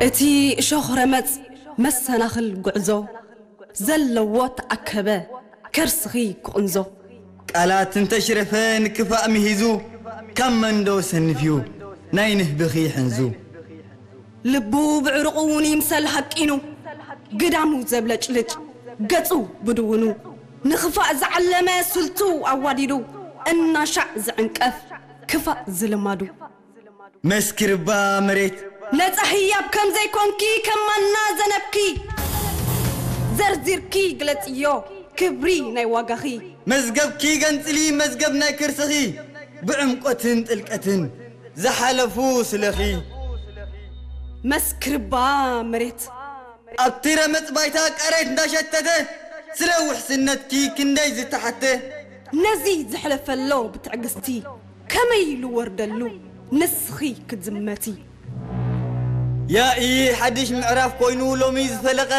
እቲ እሾኽ ረመጽ መሰናኽል ጉዕዞ ዘለዎ ተኣከበ ከርስኺ ክቕንዞ። ቃላት እንተሽረፈ ንክፋእ ምሂዙ፣ ካብ መንዶ ሰንፍዩ ናይ ንህብኺ ሕንዙ። ልቡ ብዕሩቑ እውን ይምሰል ሃቂኑ፣ ግዳሙ ዘብለጭልጭ ገጹ ብድውኑ፣ ንኽፋእ ዝዓለመ ስልቱ ኣዋዲዱ፣ እናሻዕ ዝዕንቀፍ ክፋእ ዝልማዱ። መስክርባ መሬት ነጻ ህያብ ከም ዘይኮንኪ ከማና ዘነብኪ፣ ዘርዚርኪ ግለጽዮ ክብሪ ናይ ዋጋኺ። መዝገብኪ ገንጽሊ መዝገብ ናይ ከርስኺ፣ ብዕምቆትን ጥልቀትን ዝሓለፉ ስለኺ። መስክርባ መሬት ኣብቲ ረመጽ ባይታ ቃሬት እንዳሸተተ፣ ስለ ውሕስነትኪ ክንደይ ዝተሓተ። ነዚ ዘሕለፈሎ ብትዕግስቲ ከመይ ልወርደሉ ንስኺ ክትዝመቲ። ያኢ ሓድሽ ምዕራፍ ኮይኑ ሎሚ ዝፈለቐ፣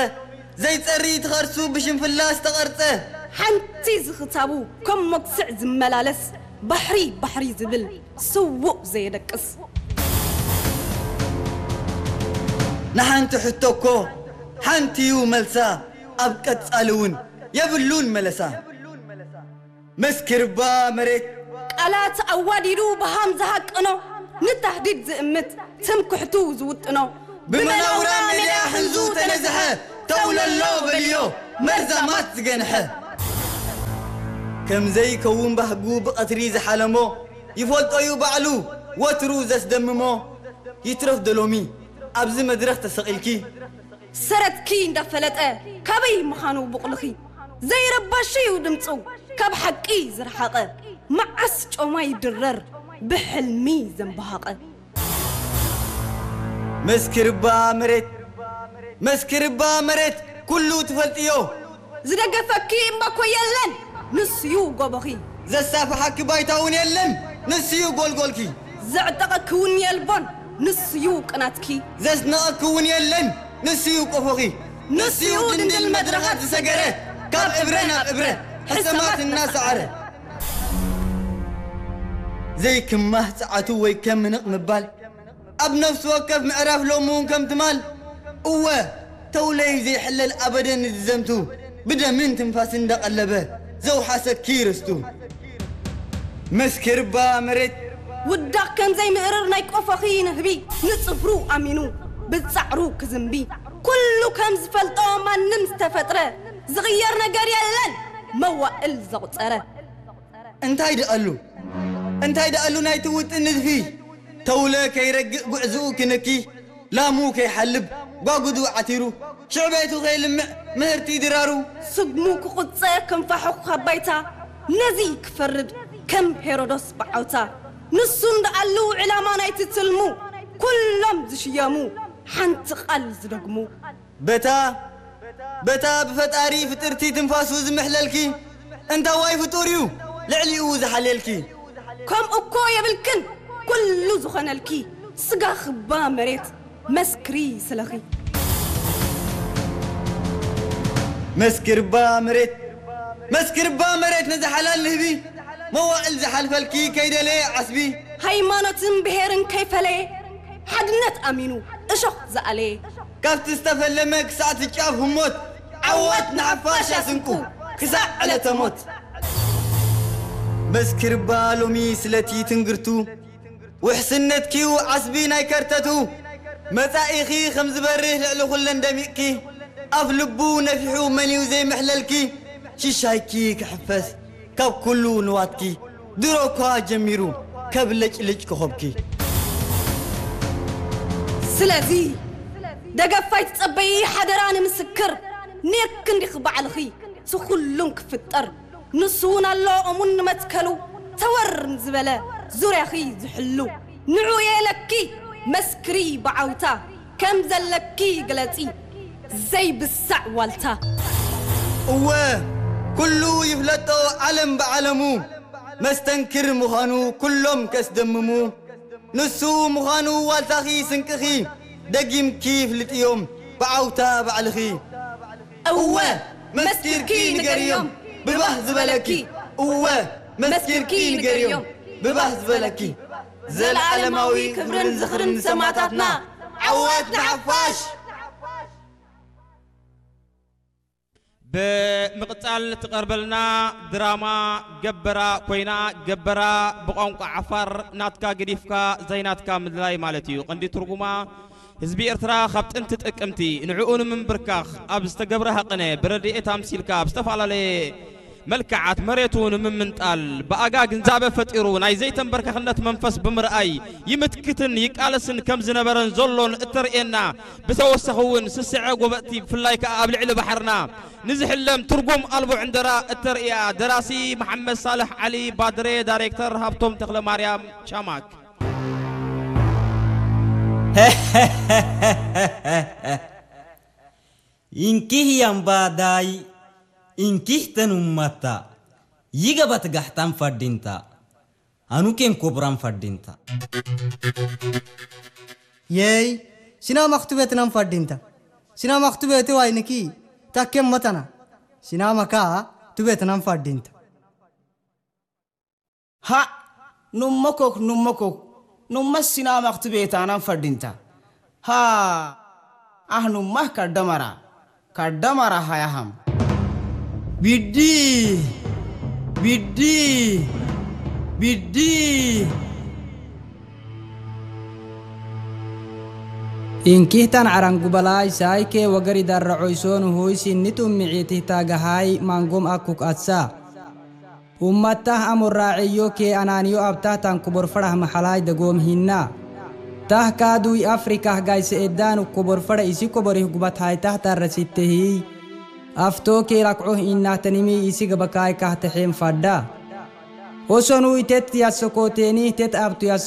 ዘይጸሪ እቲ ኸርሱ ብሽንፍላ ዝተቐርጸ። ሓንቲ ዝኽታቡ ከም መጉስዕ ዝመላለስ ባሕሪ ባሕሪ ዝብል ስዉእ ዘየደቅስ። ንሓንቲ ሕቶ እኮ ሓንቲ እዩ መልሳ፣ ኣብ ቀጻሊ እውን የብሉን መለሳ። መስክርባ መሬት ቃላት ኣዋዲዱ ብሃም ዝሃቅኖ፣ ንታህዲድ ዝእምት ትምክሕቱ ዝውጥኖ፣ ብመናውራ ሜዳ ሕንዙ ተነዝሐ፣ ተውለሎ በልዮ መርዛማት ዝገንሐ። ከም ዘይከውን ባህጉ ብቐትሪ ዝሓለሞ፣ ይፈልጦ እዩ ባዕሉ ወትሩ ዘስደምሞ። ይትረፍ ዶ ሎሚ ኣብዚ መድረኽ ተሰቒልኪ፣ ሰረትኪ እንዳፈለጠ ካበይ ምዃኑ ቡቕልኺ፣ ዘይረባሽ እዩ ድምፁ ካብ ሓቂ ዝረሓቐ፣ መዓስ ጮማ ይድረር ብሕልሚ ዘንበሃቐ። መስክርባ መሬት፣ መስክርባ መሬት ኩሉ ትፈልጥዮ። ዝደገፈኪ እምባኮ የለን፣ ንሱዩ ጎቦኺ። ዘሳፍሓኪ ባይታ እውን የለን፣ ንሱዩ ጎልጎልኪ። ዘዕጠቐኪ እውን የልቦን፣ ንሱዩ ቅናትኪ። ዘስነቐኪ እውን የለን፣ ንሱዩ ቆፎኺ። ንሱዩ ድንድል መድረኻት ዝሰገረ፣ ካብ እብረ ናብ እብረ ሕሰማት እናሰዓረ። ዘይክማህ ጸዓቱ ወይ ከም ምንቕ ምባል፣ ኣብ ነፍሲ ወከፍ ምዕራፍ ሎሚ እውን ከም ትማል። እወ፣ ተውለይ ዘይሕለል ኣበደን ዝዘምቱ፣ ብደምን ትንፋስን እንዳቐለበ ዘውሓሰኪ ርስቱ። መስክርባ መሬት ውዳቕ ከም ዘይምእርር ናይ ቆፎኺ ንህቢ፣ ንጽፍሩ ኣሚኑ ብጻዕሩ ክዝንቢ። ኩሉ ከም ዝፈልጦ ማንም ዝተፈጥረ፣ ዝቕየር ነገር የለን መዋእል ዘቑጸረ። እንታይ ደኣሉ፣ እንታይ ደኣሉ ናይቲ ውጥን ንድፊ፣ ተውለ ከይረግእ ጉዕዝኡ ክንኪ፣ ላሙ ከይሓልብ ጓጉዱ ዓቲሩ፣ ሽዕቤቱ ከይልምዕ ምህርቲ ድራሩ። ስግሙ ክቑጸ ክንፋሑ ካብ ባይታ፣ ነዚ ክፈርድ ከም ሄሮዶስ ብዓውታ። ንሱ እንደኣሉ ዕላማ ናይቲ ትልሙ፣ ኩሎም ዝሽየሙ ሓንቲ ቃል ዝደግሙ። በታ፣ በታ ብፈጣሪ ፍጥርቲ ትንፋሱ ዝምሕለልኪ፣ እንታዋይ ፍጡር እዩ ልዕሊኡ ዝሓልየልኪ? ከምኡ እኮ የብልክን፣ ኩሉ ዝኾነልኪ፣ ስጋ ክባ መሬት መስክሪ ስለኺ። መስክርባ መሬት፣ መስክርባ መሬት ነዚ ሓላል ንህቢ፣ መዋእል ዝሓልፈልኪ ከይደለየ ዓስቢ። ሃይማኖትን ብሄርን ከይፈለየ፣ ሓድነት ኣሚኑ እሾኽ ዝኣለየ። ካብቲ ዝተፈለመ ክሳዕ እቲ ጫፍ ህሞት፣ ዓወት ንሓፋሽ ኣስንቁ ክሳዕ ዕለተ ሞት። መስክርባ ሎሚ ስለቲ ትንግርቱ፣ ውሕስነትኪዩ ዓስቢ ናይ ከርተቱ። መጻኢኺ ከም ዝበርህ ልዕሊ ኩለን ደሚቕኪ፣ ኣፍ ልቡ ነፊሑ መንዩ ዘይምሕለልኪ፣ ሽሻይኪ ክሕፈስ ካብ ኩሉ ንዋትኪ፣ ድሮ እኳ ጀሚሩ ከብለጭልጭ ኮኸብኪ። ስለዚ ደገፍ ኣይትጸበዪ ሓደራ ንምስክር፣ ኔርኪ እንዲኺ ባዕልኺ እቲ ኩሉን ክፍጠር። ንሱ እውን ኣሎ እሙን ንመትከሉ፣ ተወር ንዝበለ ዙርያኺ ዝሕሉ። ንዑ የለኪ መስክሪ ብዓውታ፣ ከም ዘለኪ ግለጺ ዘይብሳዕ ዋልታ። እወ ኩሉ ይፍለጦ ዓለም ብዓለሙ፣ መስተንክር ምዃኑ ኩሎም ከስደምሙ። ንሱ ምዃኑ ዋልታኺ ስንቅኺ፣ ደጊምኪ ፍልጥዮም ብዓውታ ባዕልኺ። እወ መስኪርኪ ንገርዮም ብባህ ዝበለኪ። እወ መስኪርኪ ንገርዮም ብባህ ዝበለኪ። ዘለዓለማዊ ክብርን ዝኽርን ንሰማእታትና። ዓወት ንሓፋሽ! ብምቕጻል ትቐርበልና ድራማ ገበራ ኮይና፣ ገበራ ብቋንቋ ዓፋር ናትካ ገዲፍካ ዘይናትካ ምድላይ ማለት እዩ። ቀንዲ ትርጉማ፣ ህዝቢ ኤርትራ ካብ ጥንቲ ጥቅምቲ ንዕኡ ንምንብርካኽ ኣብ ዝተገብረ ሃቕነ ብረድኤት ኣምሲልካ ኣብ ዝተፈላለየ መልክዓት መሬቱ ንምምንጣል ብኣጋ ግንዛበ ፈጢሩ ናይ ዘይተንበርከኽነት መንፈስ ብምርኣይ ይምትክትን ይቃለስን ከም ዝነበረን ዘሎን እተርእየና፣ ብተወሰኺ እውን ስስዐ ጎበጥቲ ብፍላይ ከኣ ኣብ ልዕሊ ባሕርና ንዝሕለም ትርጉም ኣልቦ ዕንደራ እተርእያ ደራሲ መሓመድ ሳልሕ ዓሊ ባድሬ፣ ዳይሬክተር ሃብቶም ተኽለማርያም ቻማክ። Inkih yang badai, inkih tanumata, yiga batgahtan fadinta, anuken kobran fadinta. Yey, sinama ktubetnan fadinta. Sinama ktubete wayniki, takken matana. Sinama ka tubetnan fadinta. Ha, nummokok nummokok, numma sinama ktubetanan fadinta. Ha, ah nummah kaddamara, kaddamara hayaham. Biddi, biddi, biddi. Inkihtan arangubalai saike wagari darra oisonu huisin nitum mi'itih tagahai mangum akuk atsa. Ummattah amurra eyyo ke ananiyo abtah tan kubor farah mahalai dagom hinna. Tah kadui Afrikah gaise eddanu kubor farah isi kuborih gubat hai tah tarra sittehi. Afto ke lak'uh innah tanimi isi gabakai kah tahem fadda. Osonu itet yasokoteni tet abtu yas